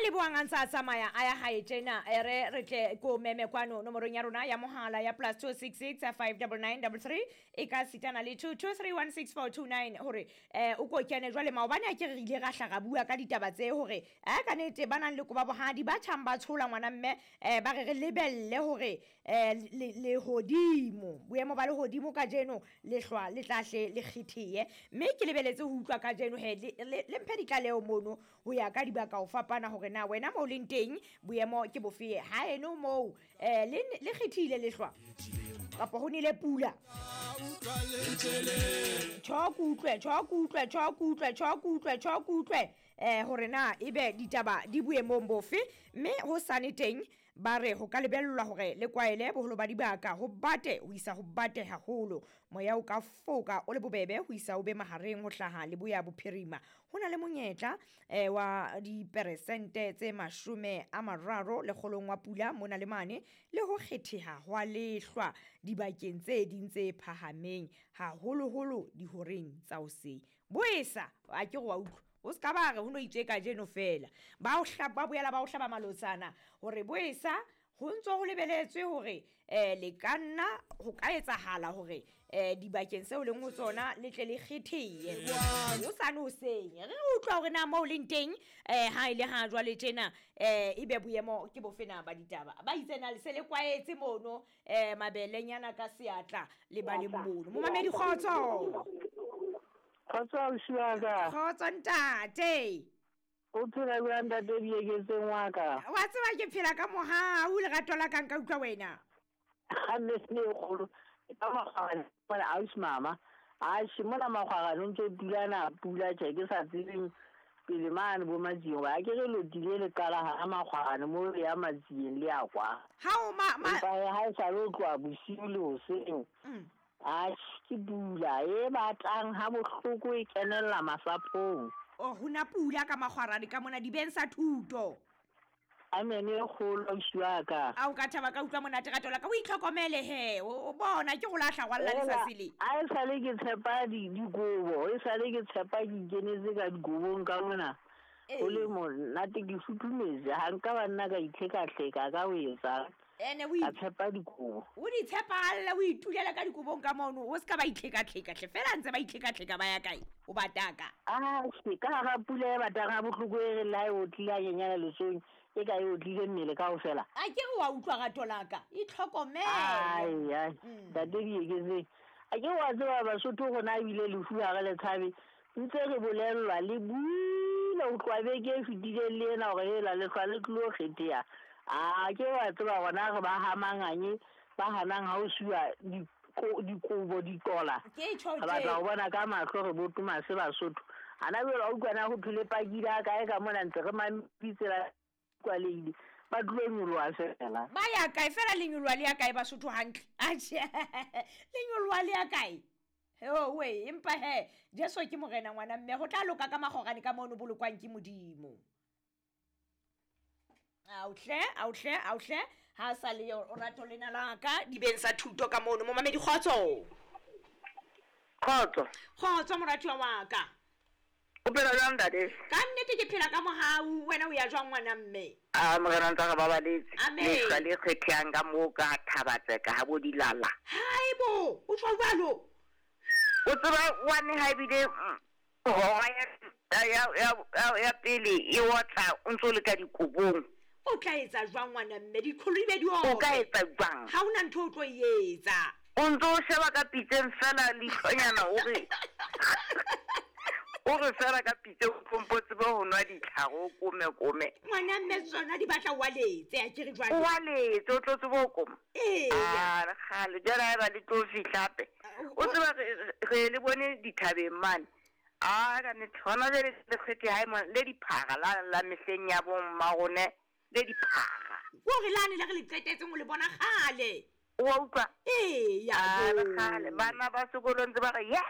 Leboang a ntse a tsamaya a ya hae tjena, e re re tle ko meme kwano nomorong ya rona ya mohala ya plus 266 599 33 e ka sitana le 22316429 hore o ko kene. Jwale maobane a ke re ile ra hla ra bua ka ditaba tse hore ka nete ba nang le koba bohadi ba tjhang ba tshola ngwana mme, ba re re lebelle hore lehodimo, boemo ba lehodimo kajeno lehlwa le tla hle le kgetheye. Mme ke lebeletse ho utlwa kajeno he le mphe ditlaleho mono ho ya ka dibaka ho fapana hore na wena moo leng teng boemo ke bofe, ha eno moo le kgethile lehlwa kapa ho nele pula. Tjho ke utlwe, tjho ke utlwe, tjho ke utlwe, tjho ke utlwe, tjho ke utlwe hore na ebe ditaba di boemong bofe. Mme ho sane teng ba re ho ka lebellwa hore le kwaele boholo ba dibaka ho bate ho isa ho bate haholo, moya o ka foka o le bobebe ho isa o be mahareng ho hlaha leboya bophirima. Ho na le monyetla wa diperesente tse 30 lekgolong wa pula mona le mane, le ho kgetheha hwa lehlwa dibakeng tse ding tse phahameng, haholoholo dihoreng tsa hoseng. Boesa a ke re wa utlwa, o ska ba re ho no itswe kajeno fela, ba o ba boela ba o hlaba malotsana hore boesa ho ntso ho lebeletswe hore le ka nna ho ka etsahala hore dibakeng seo leng ho tsona le tle le kgetheye ho sane hoseng. Re utlwa hore na moo leng teng ha ile ha jwale tjena ebe boemo ke bofe na ba ditaba. Ba itse na le se le kwaetse mono mabelenyana ka seatla le ba le mono. Momamedi kgotso. Kgotso ausi wa ka. Kgotso ntate. O phela jwang ntate Dieketseng wa ka? Wa tseba ke phela ka mohau, lerato la ka nka utlwa wena. Ha mme se kgolo ka makgwarane mona ausi mama. Atjhe mona makgwarane ntse pulana pula tjhe ke sa tsebeng pele mane bo Matsieng, ba ke re lotile le qala ha makgwarane mo ya Matsieng le ya kwa. Ha o ma empa ha e sa le tloha bosiu le hoseng. Atjhe ke pula e batlang ha bohloko e kenella masapong. Oh, hona pula ka makgwarane ka mona dibeng sa thuto. Amen e kgolo ausi wa ka. A o ka thaba ka utlwa monate rato la ka, o itlhokomele he, o bona ke go lahla wa lla letsatsi le. A e sale ke tshepa dikobo, e sale ke tshepa ke ikenetse ka dikobong ka mona. O le monate ke futhumetse, ha nka ba nna ka itlhekahleka ka ho etsa. Ene o ka tshepa dikobo. O di tshepahalla, o itulela ka dikobong ka mono, o ska ba itlhekahleka hle, fela ntse ba itlhekahleka ba ya kae? O bataka. Atjhe, ka hara pula e batang ha bohloko e re la e otlile ha nyenyana letsong, e ka e otlile mmele kaofela. A ke re wa utlwa rato la ka, itlhokomele. Ai, ai, ntate Dieketseng. A ke wa tseba Basotho rona ebile lefu ha re le tshabe, ntse re bolellwa le buile ho tloha beke e fetileng le ena hore hela lehlwa le tlo kgetheha. A ke wa tseba rona re ba ha manganye, ba hanang ha o suwa dikobo ditola. Ke tjho Re batla ho bona ka mahlo re botoma se Basotho. Ana jwale wa utlwa na ho thwe le pakile ha kae ka mona ntse re mameditse la kwalehile. Ba tlo nyoloha fela. Ba ya kae fela le nyoloha le ya kae Basotho hantle? Atjhe, le nyoloha le ya kae? Ho we, empa he Jesu ke morena ngwana mme, ho tla loka ka makgorane ka mono bolokwang ke Modimo. Auhle, auhle, auhle, ha sa le o rato lena la ka dibeng sa thuto ka mono. Momamedi kgotso. Kgotso. Kgotso moratuwa wa ka. O phela jwang ntate? Ka nnete ke phela ka mohau, wena o ya jwang ngwana mme? A morena ntse re babaletse. Amen. Lehlwa le kgethehang ka moo ka Thabatseka ha bo dilala. Haibo, o tjho jwalo? O tseba wane ha ebile hora ya pele e otla o ntso le ka dikobong. O tla etsa jwang ngwana mme? Diqholo di be di O ka etsa jwang? Ha hona ntho o tlo e etsa. O ntso o sheba ka pitseng fela leihlonyana o re o re fela ka pitse o tlompo tsebe ho nwa ditlhare o kome kome. Ngwana mme tsona di batla o waletse, a ke re jwale. O waletse, o tlo tsebe ho koma. Ee. A re kgale, jwale ha eba le tlo fihla hape. O tseba re le bone dithabeng mane. A ka nnete, hona jwale le kgethe hae mona, le diphara la mehleng ya bo mmarone, le diphara. Kore lane le re le qetetseng o le bona kgale. O wa utlwa? Ee, ya A re bo. kgale, bana ba sekolo ntse ba re, yeah!